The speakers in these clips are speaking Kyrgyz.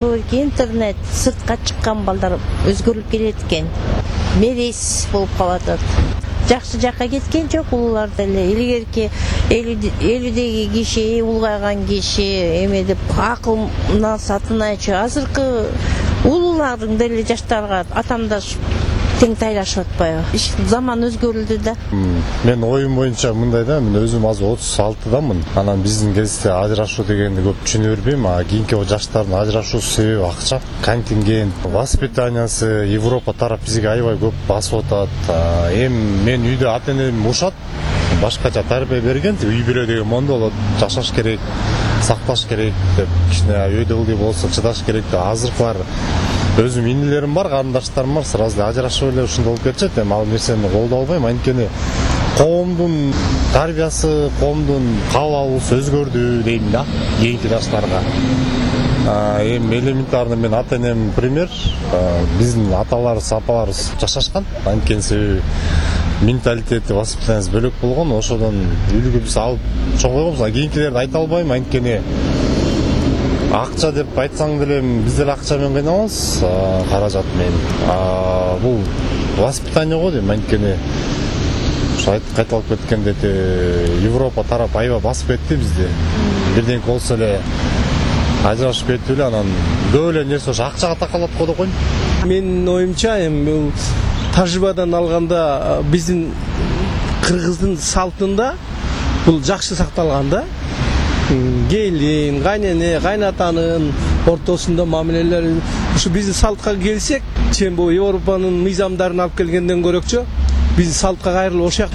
Интернет сыртка чыккан балдар өзгөрүлүп келет экен. Мерез болуп калат. Жакшы жакка кеткен жок улуулар деле. Илгерки элүүдөгү киши, улгайган киши эме деп акылына сатынайчы. Азыркы улуулардын деле жаштарга атамдаш тең тайлашып атпайбы? Заман өзгөрүлдү да. Мен оюм боюнча мындай да, мен өзүм азыр 36-дамын. Анан биздин кезде ажырашуу дегенди көп түшүнө бербейм. Кийинки жаштардын ажырашуусу себеби акча, контингент, воспитаниясы, Европа тарап бизге аябай көп басып атат. Эми мен үйдө ата-энем ушат, башкача тарбия берген, үй бүлө деген мондо болот, жашаш керек, сакташ керек деп, кичине өйдөлдү болсо чыдаш керек деп. Азыркылар өзүм инилерим бар, карындаштарым бар, сразу ажырашып эле ушундай болуп кетишет. Эми ал нерсени колдой албайм, анткени коомдун тарбиясы, коомдун кабыл алуусу өзгөрдү дейм да, кийинки жаштарга. Эми элементарный мен ата-энем пример, биздин аталарыбыз, апаларыбыз жашашкан, анткени себеби менталитети, воспитаниясы бөлөк болгон, ошодон үлгү биз алып чоңойгонбуз. Кийинкилерди айта албайм, анткени акча деп айтсаң деле биз деле акча менен кыйналабыз, каражат менен. Бул воспитание го дейм, анткени ушу кайталып кеткенде Европа тарап аябай басып кетти бизди. Бирден болсо эле ажырашып кетип эле, анан көп эле нерсе ошо акчага такалат го деп койм. Менин оюмча, эми бул тажрыйбадан алганда биздин кыргыздын салтында бул жакшы сакталган да. Келин, кайнене, кайнатанын ортосунда мамилелер ушу биздин салтка келсек, чен бул Европанын мыйзамдарын алып келгенден көрөкчө биздин салтка кайрылып ошак.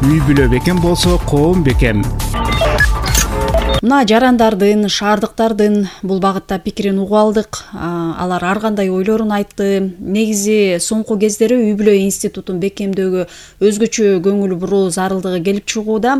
Үй бүлө бекем болсо коом бекем. Мына жарандардын, шаардыктардын бул багытта пикирин угуп алдык. Алар ар кандай ойлорун айтты. Негизи соңку кездери үй бүлө институтун бекемдөөгө өзгөчө көңүл буруу зарылдыгы келип чыгууда.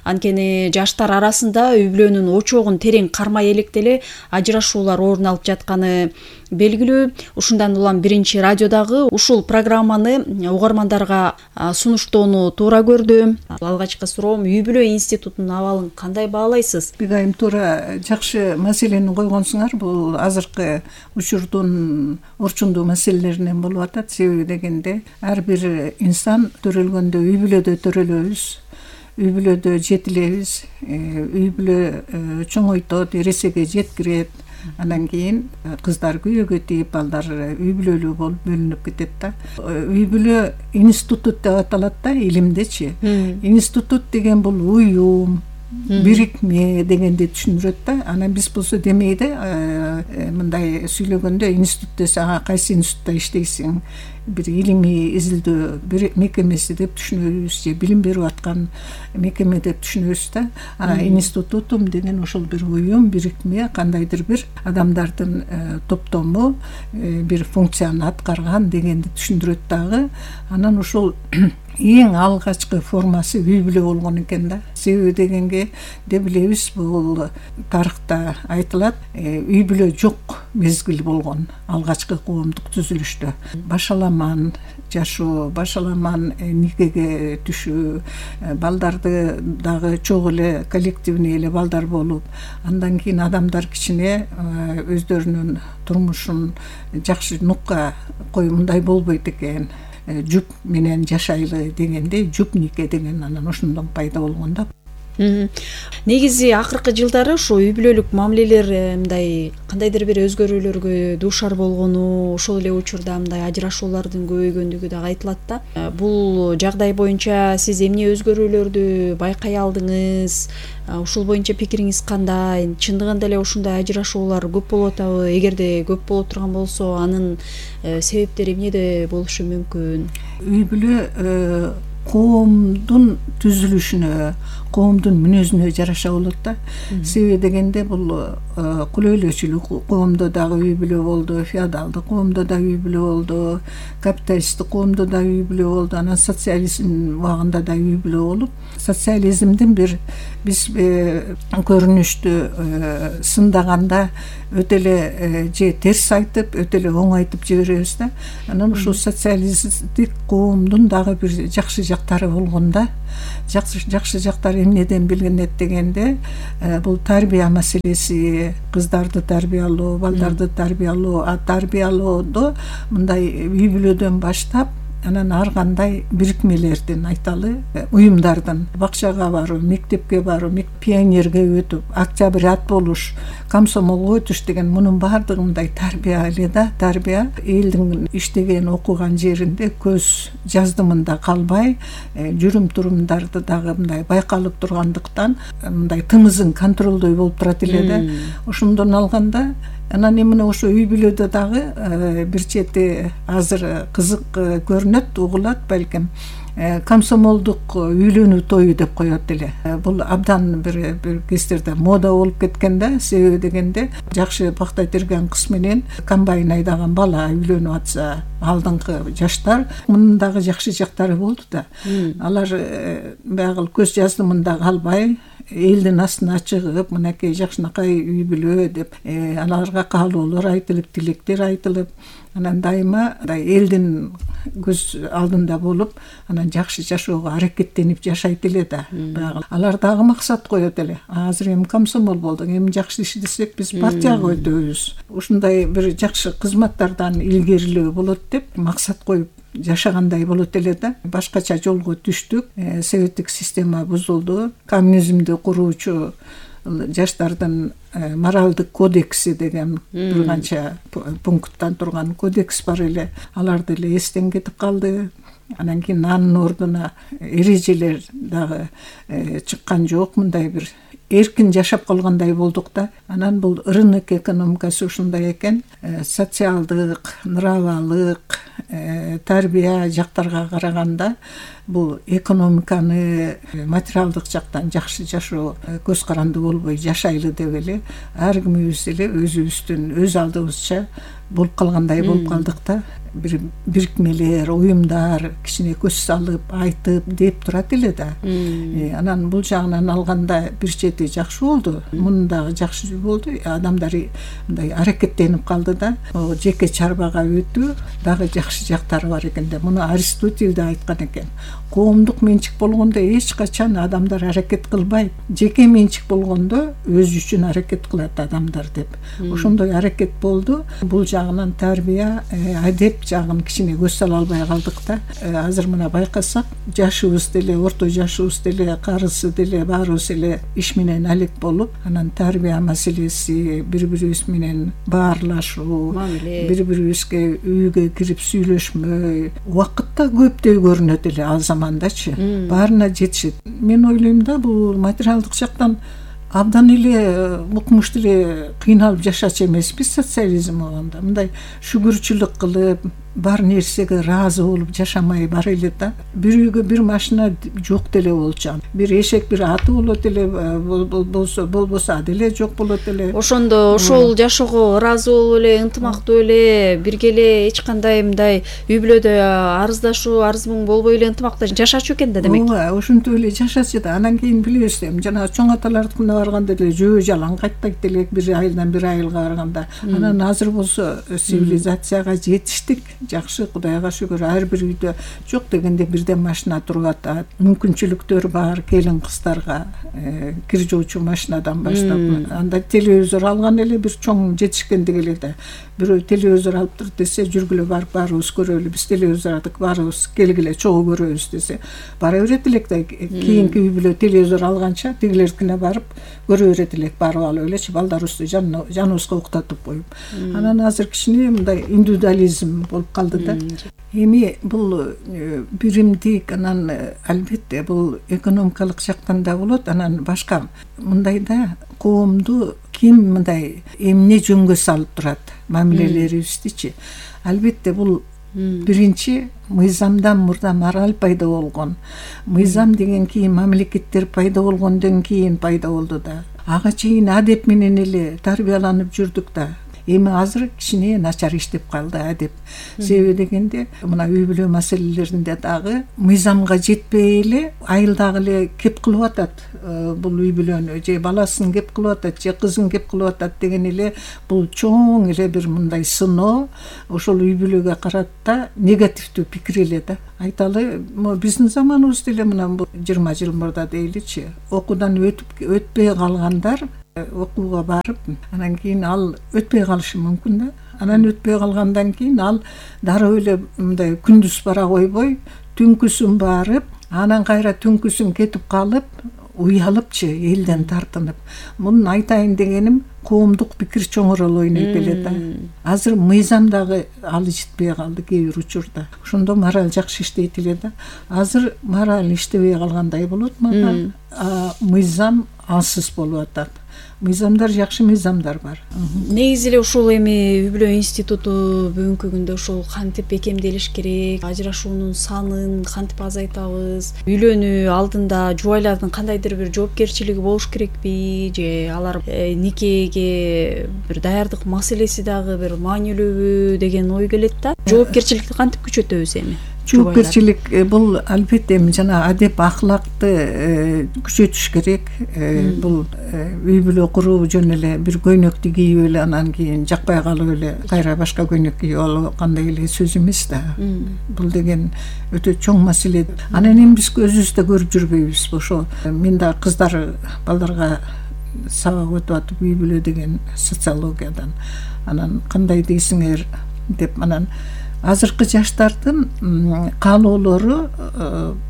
Анткени жаштар арасында үй бүлөнүн очогун терең кармай электе ажырашуулар орун алып жатканы белгилүү. Ушундан улам биринчи радиодагы ушул программаны угармандарга сунуштоону туура көрдү. Алгачкы суроом, үй бүлө институтунун абалын кандай баалайсыз? Айым туура жакшы маселени койгонсуңар. Бул азыркы учурдун орчундуу маселелеринен болуп атат. Себеби дегенде ар бир инсан төрөлгөндө үй бүлөдө төрөлөбүз, үй бүлөдө жетилебиз, үй бүлө чоңойтот, эресеге жеткирет. Андан кийин кыздар күйөөгө тийип, балдар үй бүлөлүү болуп бөлүнүп кетет да. Үй бүлө институт деп аталат да, илимдечи. Институт деген бул уюм, бирикме дегенди түшүндүрөт да. Анан биз болсо демейде мындай сүйлөгөндө институт десе, кайсы институтта иштейсиң, бир илимий изилдөө бир мекемеси деп түшүнөбүз, же билим берип аткан мекеме деп түшүнөбүз да. Институтум деген ошол бир уюм, бирикме, кандайдыр бир адамдардын топтому бир функцияны аткарган дегенди түшүндүрөт дагы. Анан ошол эң алгачкы формасы үй бүлө болгон экен да. Себеби дегенге де билебиз, бул тарыхта айтылат, үй бүлө жок мезгил болгон алгачкы коомдук түзүлүштө. Башаламан жашоо, башаламан никеге түшүү, балдарды дагы чогуу эле коллективный эле балдар болуп, андан кийин адамдар кичине өздөрүнүн турмушун жакшы нукка кой, мындай болбойт экен, жуп менен жашайлы дегенде жуп нике деген анан ошондон пайда болгон да. Негизи акыркы жылдары ошо үй бүлөлүк мамилелер мындай кандайдыр бир өзгөрүүлөргө дуушар болгону, ошол эле учурда мындай ажырашуулардын көбөйгөндүгү дагы айтылат да. Бул жагдай боюнча сиз эмне өзгөрүүлөрдү байкай алдыңыз? Ушул боюнча пикириңиз кандай? Чындыгында эле ушундай ажырашуулар көп болуп атабы? Эгерде көп болуп турган болсо, анын себептери эмнеде болушу мүмкүн? Үй бүлө коомдун түзүлүшүнө, коомдун мүнөзүнө жараша болот да. Себеби дегенде бул кулөйлөчүлүк коомдо дагы үй бүлө болду, феодалдык коомдо да үй бүлө болду, капиталисттик коомдо да үй бүлө болду, анан социализм убагында да үй бүлө болуп, социализмдин бир биз көрүнүштү сындаганда өтө эле же терс айтып, өтө эле оң айтып жиберебиз да. Анан ушул социалисттик коомдун дагы бир жакшы жактары болгон да. Жакшы жактары эмнеден билинет дегенде бул тарбия маселеси, кыздарды тарбиялоо, балдарды тарбиялоо, тарбиялоодо мындай үй бүлөдөн баштап анан ар кандай бирикмелердин айталы, уюмдардын бакчага баруу, мектепке баруу, пионерге өтүп, октябрят болуш, комсомолго өтүш деген мунун баардыгы мындай тарбия эле да. Тарбия элдин иштеген, окуган жеринде көз жаздымында калбай, жүрүм турумдарды дагы мындай байкалып тургандыктан мындай тымызын контролдой болуп турат эле да. Ошондон алганда анан эмне ошо үй бүлөдө дагы бир чети азыр кызык көрүнөт, угулат балким, комсомолдук үйлөнүү тою деп коет эле. Бул абдан бир кездерде мода болуп кеткен да. Себеби дегенде жакшы бактай терген кыз менен комбайн айдаган бала үйлөнүп атса, алдыңкы жаштар, мунун дагы жакшы жактары болду да. Алар баягы көз жаздымында калбай, элдин астына чыгып, мынакей жакшынакай үй бүлө деп аларга каалоолор айтылып, тилектер айтылып, анан дайыма элдин көз алдында болуп, анан жакшы жашоого аракеттенип жашайт эле да. Алар дагы максат коет эле. Азыр эми комсомол болдук, эми жакшы иштесек биз партияга өтөбүз. Ушундай бир жакшы кызматтардан илгерилөө болот деп максат коюп жашагандай болот эле да. Башкача жолго түштүк. Советтик система бузулду. Коммунизмди куруучу жаштардын моралдык кодекси деген бир канча пункттан турган кодекс бар эле. Алар деле эстен кетип калды. Анан кийин анын ордуна эрежелер дагы чыккан жок. Мындай бир эркин жашап калгандай болдук да. Анан бул рынок экономикасы ушундай экен. Социалдык, нравалык, тарбия жактарга караганда бул экономиканы материалдык жактан жакшы жашоо көз каранды болбой жашайлы деп эле ар кимибиз эле өзүбүздүн өз алдыбызча болуп калгандай болуп калдык да. Бир бирикмелер, уюмдар кичине көз салып, айтып деп турат эле да. Анан бул жагынан алганда бир чети жакшы болду. Мунун дагы жакшы болду. Адамдар мындай аракеттенип калды да. Жеке чарбага өтүү дагы жакшы жактары бар экен да. Муну Аристотель да айткан экен. Коомдук менчик болгондо эч качан адамдар аракет кылбайт. Жеке менчик болгондо өзү үчүн аракет кылат адамдар деп. Ошондой аракет болду. Бул жагынан тарбия, адеп жагын кичине көз сала албай калдык да. Азыр мына байкасак, жашыбыз деле, орто жашыбыз деле, карысы деле баарыбыз эле иш менен алек болуп, анан тарбия маселеси, бири-бирибиз менен баарлашуу, бири-бирибизге үйгө кирип сүйлөшмөй, убакытта көптөй көрүнөт эле ал замандачы. Баарына жетишет. Мен ойлойм да, бул материалдык жактан абдан эле укмуш деле кыйналып жашачу эмеспиз социализм болгондо. Мындай шүгүрчүлүк кылып, бар нерсеге ыраазы болуп жашамай бар эле да. Бир үйгө бир машина жок деле болчу. Бир эшек, бир аты болот эле, болбосо деле жок болот эле. Ошондо ошол жашоого ыраазы болуп эле, ынтымактуу эле, бирге эле эч кандай мындай үй бүлөдө арыздашуу, арыз мұң болбой эле ынтымакта жашачу экен да демек. Ооба, ошентип эле жашачу да. Анан кийин билебиз, жана чоң аталардыкына барганда деле жөө жалаң кайтпайт деле, бир айылдан бир айылга барганда. Анан азыр болсо цивилизацияга жетиштик. Жакшы, Кудайга шүгүр, ар бир үйдө жок дегенде бирден машина туруп атат. Мүмкүнчүлүктөр бар келин кыздарга, кир жуучу машинадан баштап. Анда телевизор алган эле бир чоң жетишкендик эле да. Бирөө телевизор алыптыр десе, жүргүлө барып баарыбыз көрөлү. Биз телевизор алдык, баарыбыз келгиле чогуу көрөбүз десе, бара берет элек да. Кийинки үй бүлө телевизор алганча тигилердикине барып көрө берет элек, барып алып элечи балдарыбызды жаныбызга уктатып коюп. Анан азыр кичине мындай индивидуализм болуп калды да. Эми бул биримдик, анан албетте бул экономикалык жактан да болот, анан башка мындай да коомду ким мындай эмне жөнгө салып турат, мамилелерибиздичи. Албетте бул биринчи мыйзамдан мурда мораль пайда болгон. Мыйзам деген кийин мамлекеттер пайда болгондон кийин пайда болду да. Ага чейин адеп менен эле тарбияланып жүрдүк да. Эми азыр кичине начар иштеп калды адеп. Себеби дегенде мына үй бүлө маселелеринде дагы мыйзамга жетпей эле айыл дагы эле кеп кылып атат. Бул үй бүлөнү же баласын кеп кылып атат, же кызын кеп кылып атат деген эле бул чоң эле бир мындай сыноо ошол үй бүлөгө карата негативдүү пикир эле да. Айталы, биздин заманыбызда эле мына бул 20 жыл мурда дейличи, окуудан өтпөй калгандар окууга барып, анан кийин ал өтпөй калышы мүмкүн да. Анан өтпөй калгандан кийин ал дароо эле мындай күндүз бара койбой, түнкүсүн барып, анан кайра түнкүсүн кетип калып, уялыпчы, элден тартынып. Мунун айтайын дегеним, коомдук пикир чоңорол ойнойт эле да. Азыр мыйзам дагы алы жетпей калды кээ бир учурда. Ошондо мораль жакшы иштейт эле да. Азыр мораль иштебей калгандай болот, мыйзам алсыз болуп атат. Мыйзамдар жакшы мыйзамдар бар. Негизи эле ушул эми үй бүлө институту бүгүнкү күндө ушул кантип бекемделиш керек, ажырашуунун санын кантип азайтабыз, үйлөнүү алдында жубайлардын кандайдыр бир жоопкерчилиги болуш керекпи, же алар никеге бир даярдык маселеси дагы бир маанилүүбү деген ой келет да. Жоопкерчиликти кантип күчөтөбүз эми? Жоопкерчилик бул албетте жана адеп ахлакты күчөтүш керек. Бул үй бүлө куруу жөн эле бир көйнөктү кийип эле анан кийин жакпай калып эле кайра башка көйнөк кийип алгандай эле сөз эмес да. Бул деген өтө чоң маселе. Анан эми биз өзүбүз да көрүп жүрбөйбүз. Ошо мен да кыздар балдарга сабак өтүп атып үй бүлө деген социологиядан анан кандай дейсиңер деп анан азыркы жаштардын каалоолору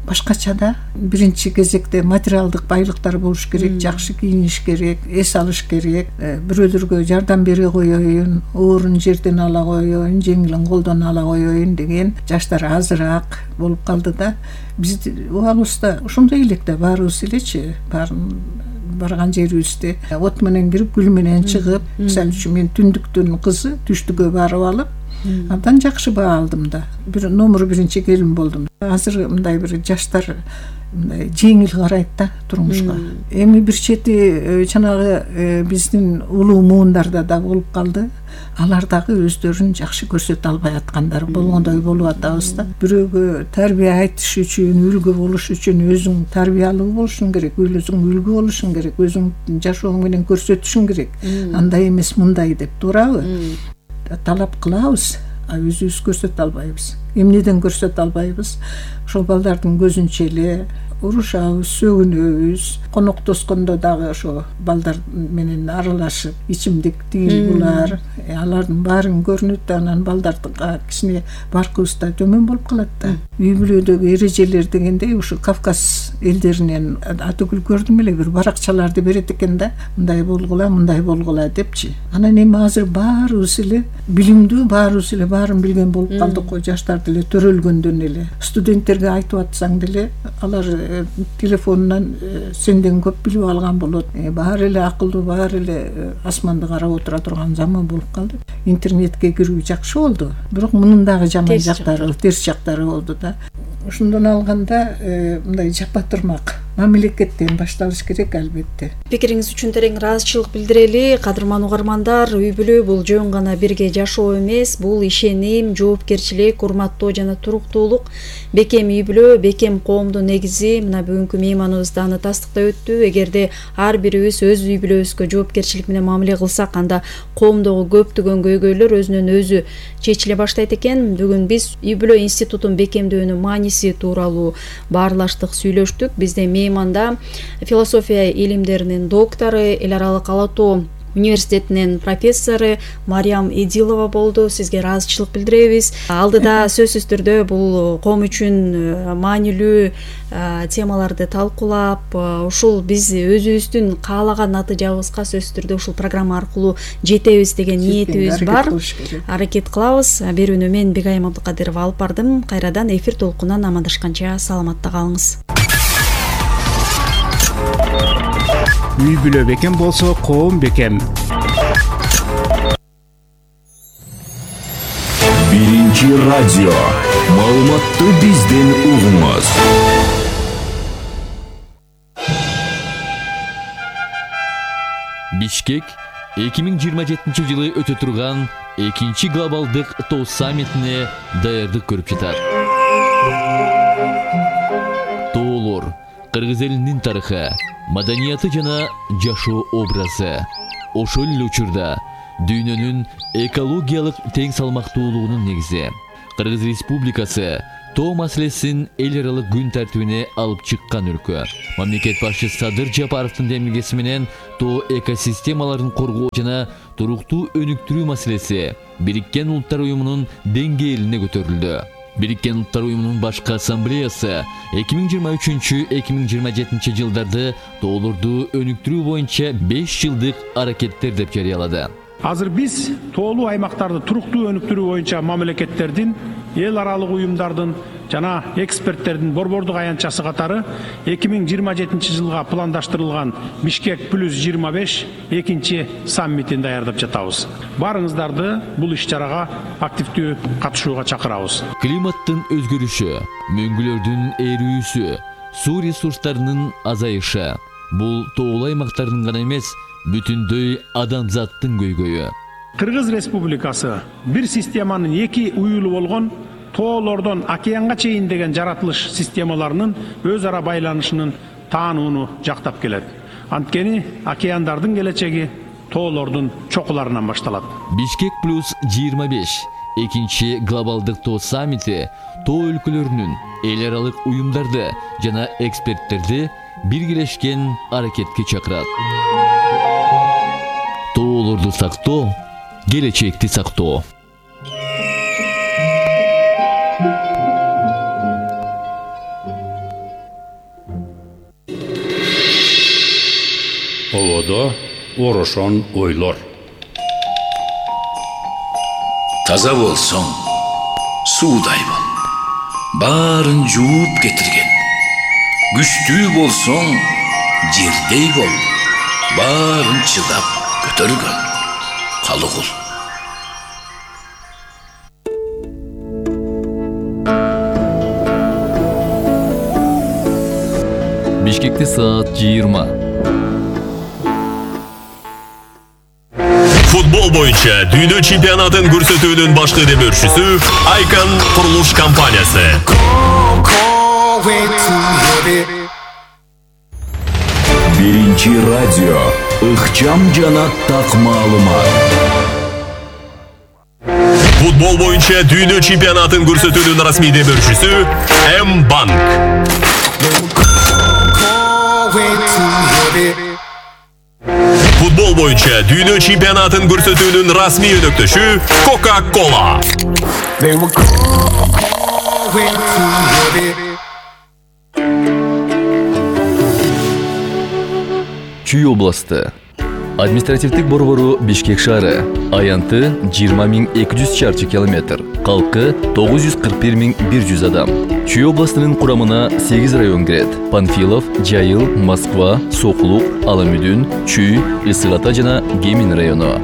башкача да. Биринчи кезекте материалдык байлыктар болуш керек, жакшы кийиниш керек, эс алыш керек, бирөөлөргө жардам бере коеюн, оорун жерден ала коеюн, жеңилин колдон ала коеюн деген жаштар азыраак болуп калды да. Биз убагыбызда ошондой элек да баарыбыз элечи, барган жерибизде от менен кирип, гүл менен чыгып, мисалы үчүн мен түндүктүн кызы түштүккө барып алып абдан жакшы баа алдым да. Бир номер биринчи келин болдум. Азыр мындай бир жаштар мындай жеңил карайт да турмушка. Эми бир чети жанагы биздин улуу муундарда да болуп калды. Алар дагы өздөрүн жакшы көрсөтө албай аткандар болгондой болуп атабыз да. Бирөөгө тарбия айтыш үчүн, үлгү болуш үчүн өзүң тарбиялуу болушуң керек, өзүң үлгү болушуң керек, өзүң жашооң менен көрсөтүшүң керек. Андай эмес, мындай деп туурабы? Талап кылабыз, өзүбүз көрсөтө албайбыз. Эмнеден көрсөтө албайбыз? Ошол балдардын көзүнчө эле урушабыз, сөгүнөбүз. Коноктоскондо дагы ошо балдар менен аралашып, ичимдик тигил булар, алардын баарын көрүнөт да, анан балдарга кичине баркыбыз да төмөн болуп калат да. Үй бүлөдөгү эрежелер дегенде ушу Кавказ элдеринен атүгүл көрдүм эле, бир баракчаларды берет экен да, мындай болгула депчи. Анан эми азыр баарыбыз эле билимдүү, баарыбыз эле баарын билген болуп калдык го, жаштар деле төрөлгөндөн эле. Студенттерге айтып атсаң деле алар телефонунан сенден көп билип алган болот. Баары эле акылдуу, баары эле асманды карап отура турган заман болуп калды. Интернетке кирүү жакшы болду, бирок мунун дагы жаман жактары, терс жактары болду да. Ошондон алганда мындай жапа турмак мамлекеттен башталыш керек албетте. Пикириңиз үчүн терең ыраазычылык билдирели. Кадырман угармандар, үй бүлө бул жөн гана бирге жашоо эмес, бул ишеним, жоопкерчилик, урматтоо жана туруктуулук. Бекем үй бүлө, бекем коомдун негизи. Мына бүгүнкү мейманыбыз да аны тастыктай өттү. Эгерде ар бирибиз өз үй бүлөбүзгө жоопкерчилик менен мамиле кылсак, анда коомдогу көптөгөн көйгөйлөр өзүнөн өзү чечиле баштайт экен. Бүгүн биз үй бүлө институтун бекемдөөнүн мааниси тууралуу баарлаштык, сүйлөштүк. Бизде мейманда философия илимдеринин доктору, эл аралык ала тоо университетинин профессору Мариям Эдилова болду. Сизге ыраазычылык билдиребиз. Алдыда сөзсүз түрдө бул коом үчүн маанилүү темаларды талкуулап, ушул биз өзүбүздүн каалаган натыйжабызга сөзсүз түрдө ушул программа аркылуу жетебиз деген ниетибиз бар. Аракет кылабыз. Берүүнү мен Бегайым Абдыкадырова алып бардым. Кайрадан эфир толкунан амандашканча саламатта калыңыз. Үй бүлө бекем болсо, коом бекем. Биринчи радио. Маалыматты бизден угуңуз. Бишкек 2027-жылы өтө турган 2-чи глобалдык тоо саммитине даярдык көрүп жатат. Тоолор кыргыз элинин тарыхы, маданияты жана жашоо образы. Ошол эле учурда дүйнөнүн экологиялык тең салмактуулугунун негизи. Кыргыз Республикасы тоо маселесин эл аралык күн тартибине алып чыккан өлкө. Мамлекет башчысы Садыр Жапаровдун демилгеси менен тоо экосистемаларын коргоо жана туруктуу өнүктүрүү маселеси Бириккен Улуттар Уюмунун деңгээлине көтөрүлдү. Бириккен Улуттар Уюмунун башкы ассамблеясы 2023-2027 жылдарды тоолорду өнүктүрүү боюнча 5 жылдык аракеттер деп жарыялады. Азыр биз тоолуу аймактарды туруктуу өнүктүрүү боюнча мамлекеттердин, эл аралык уюмдардын жана эксперттердин борбордук аянтчасы катары 2027 жылга пландаштырылган Бишкек плюс 25 экинчи саммитин даярдап жатабыз. Барыңыздарды бул иш-чарага активдүү катышууга чакырабыз. Климаттын өзгөрүшү, мөңгүлөрдүн эрүүсү, суу ресурстарынын азайышы бул тоолуу аймактардын гана эмес, бүтүндөй адамзаттын көйгөйү. Кыргыз Республикасы бир системанын эки уюлу болгон тоолордон океанга чейин деген жаратылыш системаларынын өз ара байланышынын таанууну жактап келет. Анткени океандардын келечеги тоолордун чокуларынан башталат. Бишкек плюс 25 экинчи глобалдык тоо саммити тоо өлкөлөрүнүн эл аралык уюмдарды жана эксперттерди биргелешкен аракетке чакырат. Тоолорду сактоо, келечекти сактоо. Оводо орошон ойлор. Таза болсоң, суудай бол. Баарын жууп кетирген. Күчтүү болсоң, жердей бол. Баарын чыдап көтөргөн. Калыгул. Бишкекте саат 20. Футбол боюнча дүйнө чемпионатын көрсөтүүнүн башкы демөөрчүсү Icon курулуш компаниясы. Биринчи радио ыкчам жана так маалымат. Футбол боюнча дүйнө чемпионатын көрсөтүүнүн расмий демөөрчүсү М-банк. Футбол боюнча дүйнө чемпионатын көрсөтүүнүн расмий өнөктөшү Coca-Cola. Чүй областы. Административдик борбору Бишкек шаары. Аянты 20.200 чарчы километр. Калкы 941.100 адам. Чүй областынын курамына 8 район кирет. Панфилов, Жайыл, Москва, Соклук, Аламүдүн, Чүй, Ысык Ата жана Гемин району.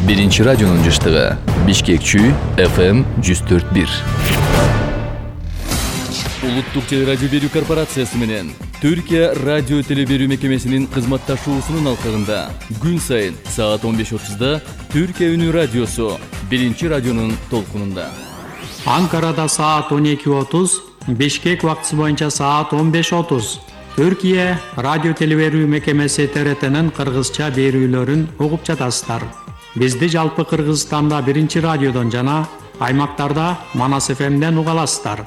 Биринчи радионун жыштыгы. Бишкек Чүй, FM 104.1. Улуттук телерадио берүү корпорациясы менен Түркия радио телеберүү мекемесинин кызматташуусунун алкагында күн сайын саат 15:30 Түркия үнү радиосу биринчи радионун толкунунда. Анкарада саат 12:30, Бишкек убактысы боюнча саат 15:30. Түркия радио телеберүү мекемеси ТРТнын кыргызча берүүлөрүн угуп жатасыздар. Бизди жалпы Кыргызстанда биринчи радиодон жана аймактарда Манас ФМден уга аласыздар.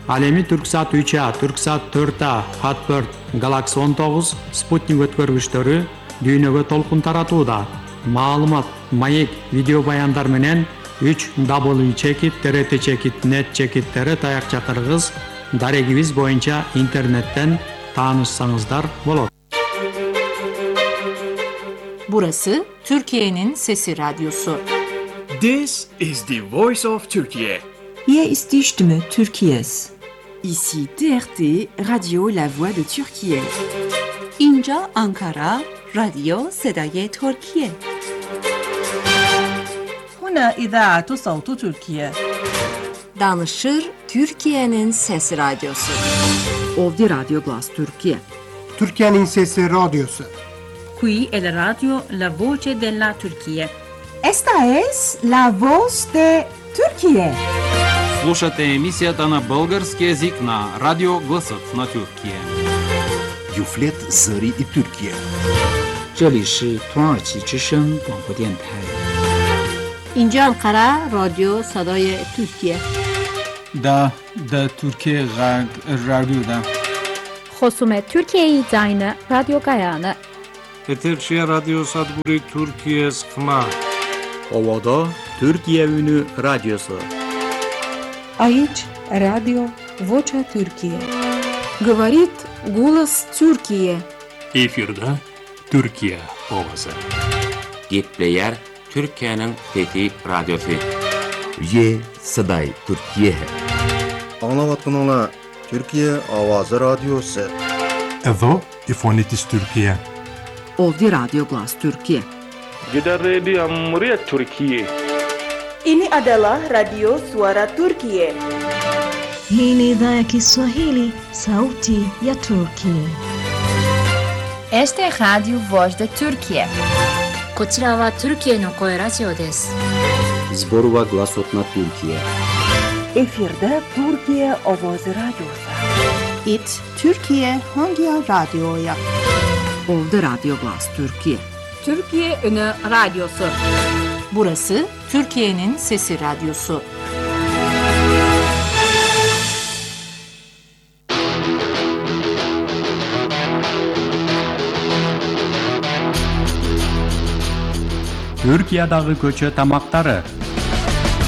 Ал эми Түрксат 3А, Түрксат 4А, Хатберт, Галакси 19, Спутник өткөргүчтөрү дүйнөгө толкун таратууда. Маалымат, маек, видео баяндар менен 3w.trt.net чекиттери таякча кыргыз дарегибиз боюнча интернеттен таанышсаңыздар болот. Burası Türkiye'nin Sesi Radyosu. This is the voice of Turkey. Hier ist die Stimme Türkiye's. Ici TRT, Radio La Voix de Türkiye. اینجا آنکارا، رادیو صدای ترکیه. هنا إذاعة صوت تركيا. Danışır Türkiye'nin Sesi Radyosu. Ovdi Radyo Glas Türkiye. Türkiye'nin Sesi Radyosu. Qui è la radio La Voce della Turquía. Esta es la voz de Turquía. Слушате емисията на български език на Радио Гласът на Türkiye. Юфлет Зари и Türkiye. 这里是土耳其之声广播电台。 اینجا انقره رادیو صدای ترکیه. دا Türkiye Radyo'da. خصوم Türkiye'yi zayını Radyo Gayane. Eterçi Radyo Sadburi Türkiye Sıkma. Ovada Türkiye Ünü Radyosu. Aici Radio Vocea Türkiye. Говорит голос Türkiye. Efirde Türkiye ovası. Gepleyer Türkiye'nin Fethi Radyosu. Ye Saday Türkiye. Anlavatkanlar Türkiye Avazı Radyosu. Edo Ifonitis Türkiye. Ovdi Radio Glas Türkiye. Kita Radio Amria Türkiye. Ini adalah Radio Suara Turkiye. Hii ni idhaa ya Kiswahili, sauti ya Turkiye. Este es Radio Voz de Turkiye. こちらはトルキエの声ラジオです。Zborova Glasot na Türkiye. Efirde Türkiye Ovozi Radyosu. It Türkiye hangi radyoya? Ovdi Radio Glas Türkiye. Türkiye Ünü Radyosu. Burası Türkiye'nin Sesi Radyosu. Түркиядагы көчө тамактары